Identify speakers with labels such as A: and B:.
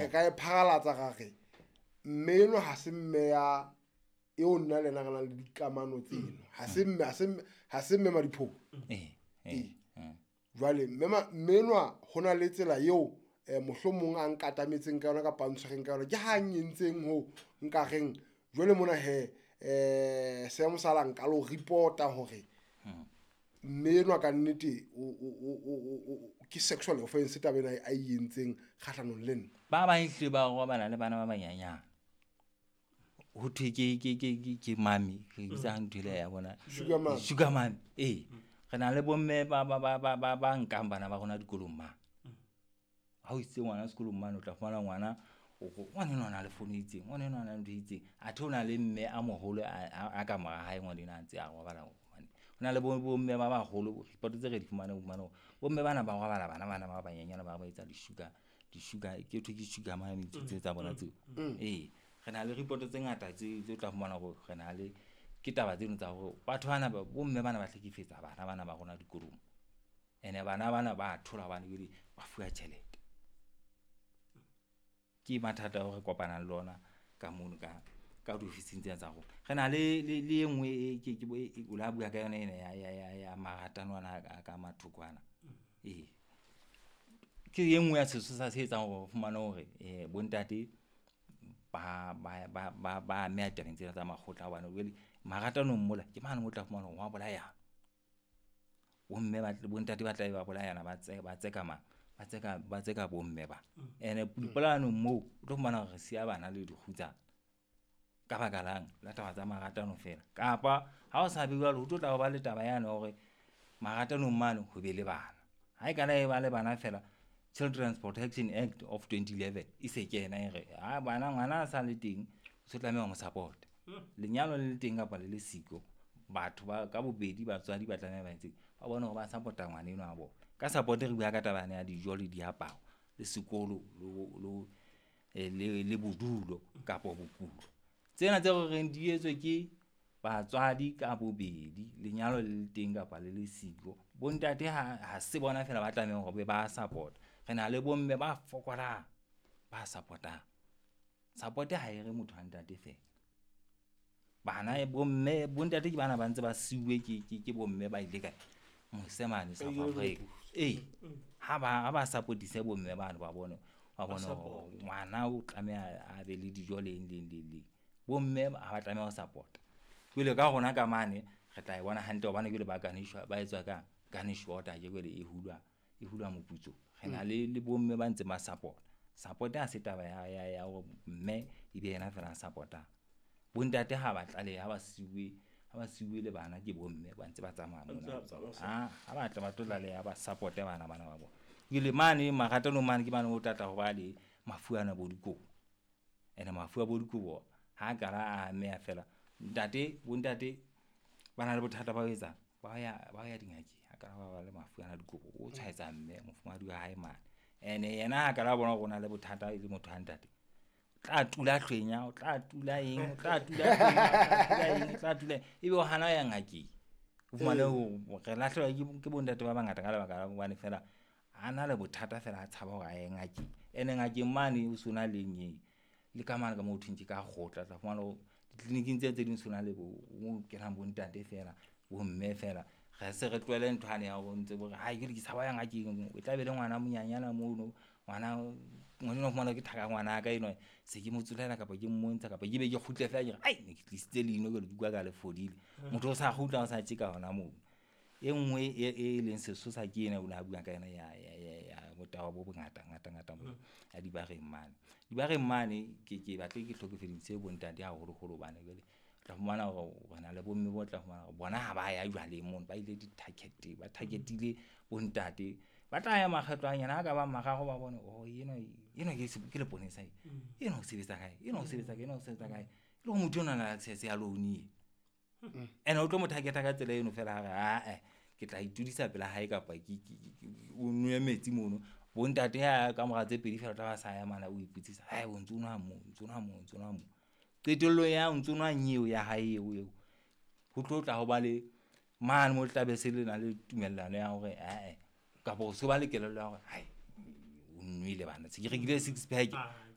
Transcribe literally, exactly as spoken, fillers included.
A: Re ka e pharalatsa ra re mme enwa ha se mme ya eo nna le yena re nang le dikamano tseno, ha se mme, ha se mme, ha se mme Madiphoko.
B: Ee, ee, ee.
A: Jwale mme ma-, mme enwa ho na le tsela eo, eh, mohlomong a nkatametseng ka yona kapa a ntshwereng ka yona, ke ha nyentseng ho nka reng jwale mona he, eh, seemo sa la nka lo reporta hore
B: Hmm.
A: mme enwa ka nnete o, o, o, o, o, o, ke sexual offense taba ena a e entseng kgahlanong le nna.
B: Ba bang ehlile ba robala le bana ba banyenyane. Ho thwe ke, ke, ke, ke, ke mami, re bitsa ntho ele ya bona.
A: Sugar mami.
B: Sugar mami, ee. Re na le bomme ba, ba, ba, ba, ba, ba nkang bana ba rona dikolong mane. Ha o isitse ngwana sekolong mane, o tla fumana ngwana, o go, ngwana enwa o na le fono e itseng, ngwana enwa o na le ntho e itseng. Athe o na le mme a moholo a, a, a ka mora hae ngwana enwa a ntse a robala hobane. Ho na le bo, bomme ba baholo, report tse re di fumaneng, o fumane hore bomme bana ba robala bana bana ba banyenyane ba ba etsa di-sugar, di-sugar, ke thwe ke sugar mami tse tsa bona tseo. Ee, re na le report tse ngata tse, tse tla fumana hore re na le, ke taba tseno tsa hore batho bana ba, bomme bana ba hlekefetsa bana bana ba rona dikolong. Ene bana bana ba thola hobane jwale ba fuwa tjhelete. Ke mathata ao re kopanang le ona ka mono ka, ka diofising tsena tsa rona. Re na le, le, le e nngwe e ke, ke, e, o la bua ka yona ena ya, ya, ya, ya maratano ana a ka mathoko ana. Ee. Ke e nngwe ya sesosa se etsang hore o fumane hore, eh, bontate ba, ba, ba, ba, ba ameha tabeng tsena tsa makgotla hobane jwale maratanong mola ke mane mo tla fumana hore wa bolayana. Bomme ba, bontate ba tla be ba bolayana, ba tse, ba tseka mang? Ba tseka, ba tseka bomme ba. Ene dipolayanong moo o tlo fumana hore re siya bana le dikgutsana. Ka baka lang la taba tsa maratano fela. Kapa ha o sa be jwalo, ho tlo tla ba le taba yane hore maratanong mane ho be le bana. Ha e kana e ba le bana fela, Children's Protection Act of twenty eleven e se kena e re, ha bana, ngwana a sa le teng, o se tlameha ho mo support. Lenyalo le le teng kapa le le siko, batho ba ka bobedi batswadi ba tlameha ba etse, ba bone hore ba support-a ngwana enwa wa bona. Ka support re bua ka taba ya dijo le diaparo, le sekolo, le, le, le, le bodulo kapa bokulo. Tsena tse re reng di etswe ke batswadi ka bobedi, lenyalo le le teng kapa le le siko. Bontate ha, ha se bona fela ba tlamehang hore ba support. Re na le bomme ba fokolang, ba support-ang. Support ha e re motho wa ntate fela. Bana bomme, bontate ke bana ba ntse ba siuwe ke, ke, ke bomme ba ile kae? Mose mane South Africa. Ee, ha ba, ha ba support-ise bomme bano ba bone, ba bone hore ngwana o tlameha a be le dijo le eng, le eng, le eng, le eng. Bomme ha ba tlameha ho support-a. Jwale ka rona ka mane re tla e bona hantle hobane jwale ba garnish-wa, ba etswa ka garnish order ke jwale e hulwa, e hulwa moputso. Re na le, le bomme ba ntse ba support. Support ha se taba ya, ya, ya hore mme e be yena fela a support-ang. Bontate ha ba tlalehe, ha ba siuwe, ha ba siuwe le bana ke bomme ba ntse ba tsamaya mona. Ha, ha ba tla ba tlo tlaleha, ba support-e bana bana ba bona. Jwale mane maratanong mane ke mane o tla tla ho ba le mafu ana bo dikobo. Ene mafu a bo dikobo ha kala a ameha fela. Ntate, bontate ba na le bothata ba ho etsang, ba ya, ba ya dingakeng, ha kala ba ba le mafu ana dikobo, o tshwaetsa mme mofumahadi wa hae mane. Ene yena ha kala bona hore o na le bothata e le motho wa ntate, o tla tula hlwenya, o tla tula eng, o tla tula hlwenya, o tla tula eng, o tla tula eng, ebe o hana ho ya ngakeng. O fumane hore re lahlehelwa ke, ke bontate ba bangata ka lebaka la hobane fela a na le bothata fela a tshaba hore a ye ngakeng. Ene ngakeng mane o so na le eng e, le ka mane ka moo ho thweng ke ka kgotla, tla fumana hore ditleliniking tse tse ding so na le bo, mo kenang bontate fela, bomme fela. Re se re tlohele ntho yane ya hore ntse bo re, hai, ke re ke tshaba ho ya ngakeng, o tla be le ngwana monyanyana mono, ngwana, ngwana enwa o fumana ke thaka ngwana ka enwa, se ke mo tsolela kapa ke mmontsha kapa ke be ke kgutle fela ke re, ai, ne ke tlisitse leino jwale ke utlwa ka le fodile. Motho o sa kgutla, o sa tjeka hona moo. E nngwe e, e leng sesosa ke ena o ne a bua ka yona ya, ya, ya, ya botaba bo bongata, ngata, ngata bo, ya dibareng mane. Dibareng mane ke, ke batle ke hlokofeditse bontate haholoholo hobane jwale o tla fumana hore re na le bomme bo tla fumana hore bona ha ba ya jwaleng mono, ba ile di-target, ba target-ile bontate. Ba tla ya makgetlo a nyana, ha ka ba mararo ba bone, oh, enwa, enwa ke se-, ke leponesa e. Enwa o sebetsa kae? Enwa o sebetsa kae? Enwa o sebetsa kae? E le hore motho ona na le access ya loan e. Ene o tlo mo target-a ka tsela eno fela, ha re, ah, eh, ke tla itudisa pela hae kapa ke, ke, ke, ke, o nwe metsi mono. Bontate ha ka mora tse pedi fela o tla ba sa ya mane, o ipotsisa, hai, o ntso nwa moo, o ntso nwa moo, o ntso nwa moo. Qetellong ya o ntso nwa nyeo ya hae eo eo, ho tlo tla ho ba le mane mo tla be se le na le tumellano ya hore, eh, eh, kapa o so ba le kelello ya hore, hai, o nwele bana, se ke rekile six pack.